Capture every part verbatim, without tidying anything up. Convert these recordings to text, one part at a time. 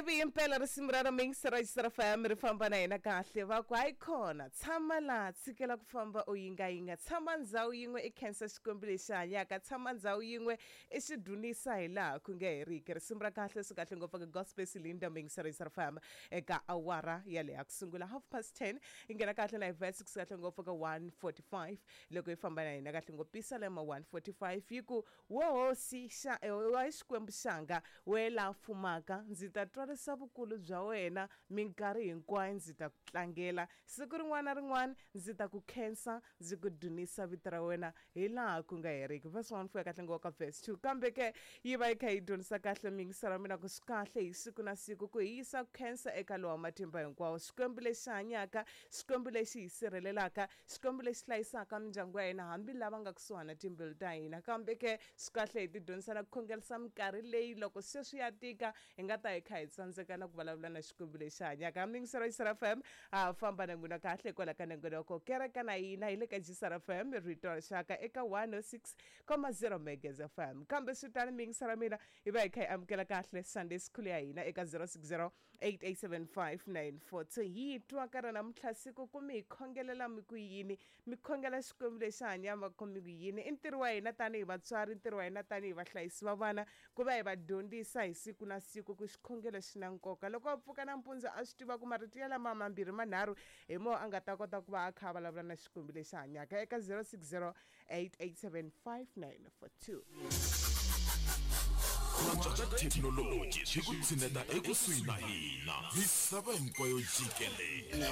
Heavy impela risimu ra Mix ra G C R F M ri famba na hina kahle. Va ku hayi khona, tshama laha, tshikela ku famba u yingayinga, tshama ndhawu yin'we i khensa Xikwembu lexi hanyaka, tshama ndhawu yin'we i xi dunisa hi laha ku nga heriki. Risimu ra kahle, swi kahle ngopfu ka gospel Silinda, Mix ra G C R F M eka awara yaleyo ya ku sungula half past ten. Yi nghena kahle na hi verse ku kahle ngopfu ka one forty-five. Loko yi famba na hina kahle ngopfu, Pisalema one forty-five yi ku: "Wo hosi xa wa Xikwembu xanga, we la fumaka, ndzi ta twarisa vukulu bya wena minkarhi hinkwayo, ndzi ta ku tlangela siku rin'wana na rin'wana, ndzi ta ku khensa, ndzi ku dunisa vito ra wena hi laha ku nga heriki." Verse one fika kahle ngopfu ka verse two. Kambe ke yi va yi kha yi dyondzisa kahle miyingiselo wa mina ku swi kahle hi siku na siku ku hi yisa ku khensa eka lowa matimba hinkwawo, Xikwembu lexi hanyaka, Xikwembu lexi hi sirhelelaka, Xikwembu lexi hlayisaka mindyangu ya hina hambi lava nga kusuhana timbilu ta hina. Kambe ke swi kahle hi ti dyondzisa na ku khongelisa minkarhi leyi loko se swi ya tika, hi nga ta hi kha hi tsandzeka na ku vulavula na Xikwembu lexi hanyaka. Miyingiselo G C R F M, ha famba na n'wina kahle kwala ka nongonoko Kereka na Hina. Hi le ka G C R F M, rito ra rixaka, eka one oh six point zero Megas F M. Kambe swi tani, miyingiselo mina, hi va hi kha hi amukela kahle Sunday School ya hina eka zero six zero eight eight seven five nine four two. Hi twa ka ra namuntlha siku ku mi hi khongelela mi ku yini, mi khongela Xikwembu lexi hanyaka ku mi ku yini? I ntirho wa hina tanihi vatswari, ntirho wa hina tanihi vahlayisi va vana ku va hi va dyondzisa hi siku na siku ku xikhongelo xi na nkoka. Loko a pfuka nampundzu, a swi tiva ku marito ya lama mambirhi manharhu hi mo a nga ta kota ku va a kha a vulavula na Xikwembu lexi hanyaka eka zero six zero eight eight seven five nine four two. Ku antswa ka thekinoloji swi ku tshineta ekusuhi na hina misava hinkwayo jikelele.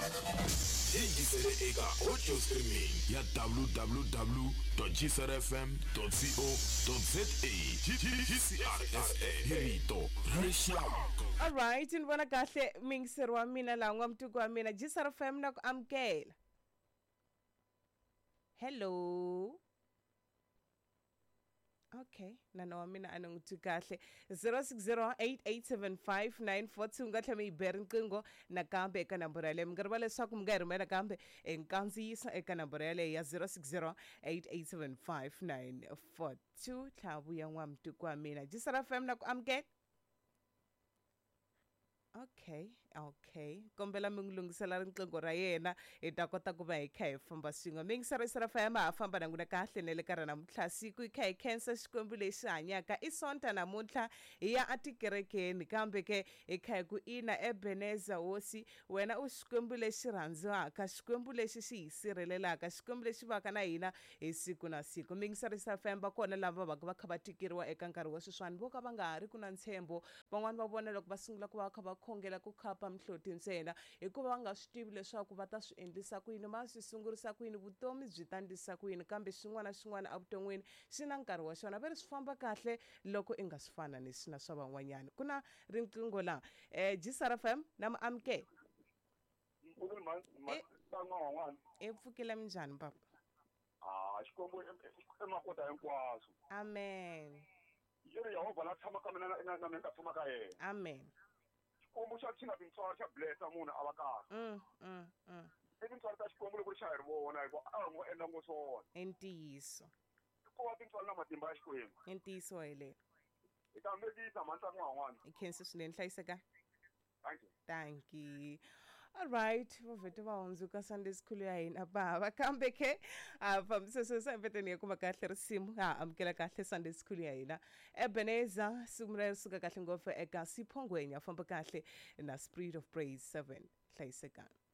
Yingisele eka audio streaming ya w w w G C R F M co za. G C R F M, hi rito ra rixaka. Alright, ni vona kahle muyingiseri wa mina laha, n'wamutiko wa mina. G C R F M na ku amukela. Hello. Okay, nana wa mina a ni n'wi twi kahle. zero six zero eight eight seven five nine four two, nga tlhela mi yi be riqingho nakambe eka namboro yaleyo. Mi nga rivala leswaku mi nga hi rhumela kambe e nkandziyiso eka namboro yaleyo ya zero six zero eight eight seven five nine four two. Tlhela vuya n'wamutiko wa mina. G C R F M na ku amukela. Okay, okay, kombela mi n'wi lunghisela riqingho ra yena, hi ta kota ku va hi kha hi famba swin'we. Miyingiselo F M, ha famba na n'wina kahle na le ka ra namuntlha siku, hi kha hi khensa Xikwembu lexi hanyaka. I Sonta namuntlha, hi ya atikerekeni, kambe ke hi kha hi ku ina Ebeneza hosi, wena u Xikwembu lexi rhandziwaka, Xikwembu lexi xi hi sirhelelaka, Xikwembu lexi vaka na hina hi siku na siku. Miyingiselo F M, va kona lava va va va kha va tikeriwa eka nkarhi wa sweswiwani, vo ka va nga ha ri ku na ntshembo. Van'wani va vona loko va sungula ku va va kha va khongela ku khapa mihloti ntsena, hikuva va nga swi tivi leswaku va ta swi endlisa ku yini, va swi sungurisa ku yini, vutomi byi ta ndlisa ku yini. Kambe xin'wana na xin'wana evuton'wini xi na nkarhi wa xona. Va ri swi famba kahle loko i nga swi fananisi na swa van'wanyana. Ku na riqingho laha. um G C R F M na mu amukela. Mpfukile. Eh. Van'wana. I pfukile, minjhani papa? Ah, Xikwembu i makota hinkwaswo. Amen. Yi ri Yehovha la tshama ka mina na na mina ka tshama ka yena. Amen. Xikwembu xa xi na tintswalo, xa blessa munhu a va kahle. mm, mm, mm. I tintswalo ta Xikwembu loko ri xa hi ri vona, hikuva a hi ngo endla ngo swona. I ntiyiso. Ko va tintswalo na matimba ya Xikwembu. I ntiyiso helelo. Hi ta mekisa mhani n'wan'wana. I khensi swinene, hlayiseka. Thank you. Thank you. Alright, va vhete va hundzuka Sunday School ya hina bava. Kambe ke a fambisa sweswo empeteni ya kuma kahle risimu, ha amukela kahle Sunday School ya hina. Ebeneza siku ra suka kahle ngopfu eka Siphongwenya, famba kahle na Spirit of Praise seven. Hlayisekani.